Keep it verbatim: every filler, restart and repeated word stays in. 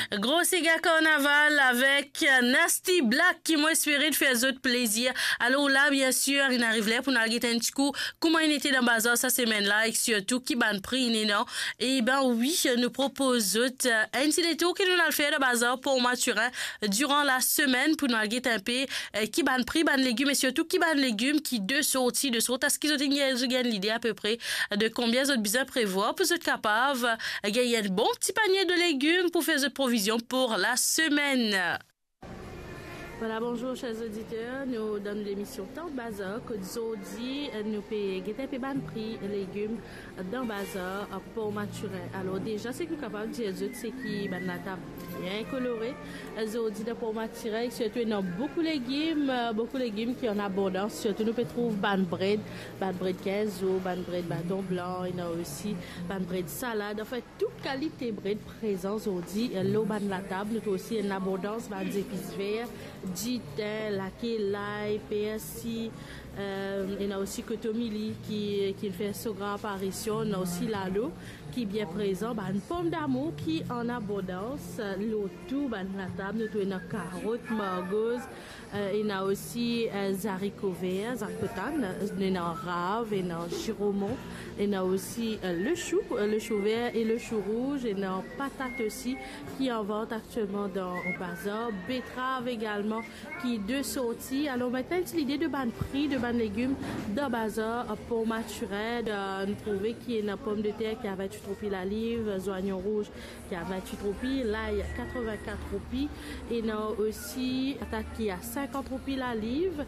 Gro sega karnaval avek Nasty Black ki mo espere fer zot plezir. Alor la, biensir, inn ariv ler pou nou al get enn ti kou kouma inn ete dan bazar sa semenn la, ek sirtou ki bann pri inn ena. E ben wi, nou propoz zot, eh, enn ti detour ki nou al fer dan bazar Port Mathurin diran lasemenn pou nou al get enpe, eh, ki bann pri bann legim e sirtou ki bann legim ki de sorti de sort, aski zot inn gagn, zot gagn lide apepre de konbien zot bizin prevwar pou zot kapav, eh, gagn enn bon ti panie de legim pou fer zot provizion pou lasemenn. Vwala, bonzour, ser oditer. Nou dan nou lemision Tan Bazar, kot zordi, eh, nou pe get enpe bann pri legim dan bazar, eh, Port Mathurin. Alor, deza, seki nou kapav dir zot, seki bann latab bien kolore. Eh, zordi, dan Port Mathurin, sirtou, ena boukou legim, eh, boukou legim ki an abondans. Sirtou, nou pe trouv bann bred, bann bred kinz zour, bann bred baton blan, ena osi bann bred salad. Anfin, tou kalite bred prezan zordi, eh, lor bann latab. Nou trouv osi enn abondans bann zepis ver, ditin, lake, lay, persi, eh, ena osi kotomili ki, ki fer so gran aparision, ena osi lalo ki bien prezan, bann pomdamour ki an abondans, eh, lor tou bann latab. Nou trouv ena karot, margoz, eh, ena osi, eh, zariko ver, zariko tann, ena rav, ena ziromon, ena osi, eh, le chou, eh, le chou ver e le chou rouz, ena patat osi ki an vant aktielman dan bazar, betrav egalman ki de sorti. Alor, mintnan, enn ti lide de bann pri de bann legim dan bazar, eh, Port Mathurin, eh, nou trouve ki ena pomdeter ki a vintwit roupi laliv, zwayon rouz ki a vintwit roupi, lay katrevin-kat roupi, ena osi patat ki a sinkant roupi laliv,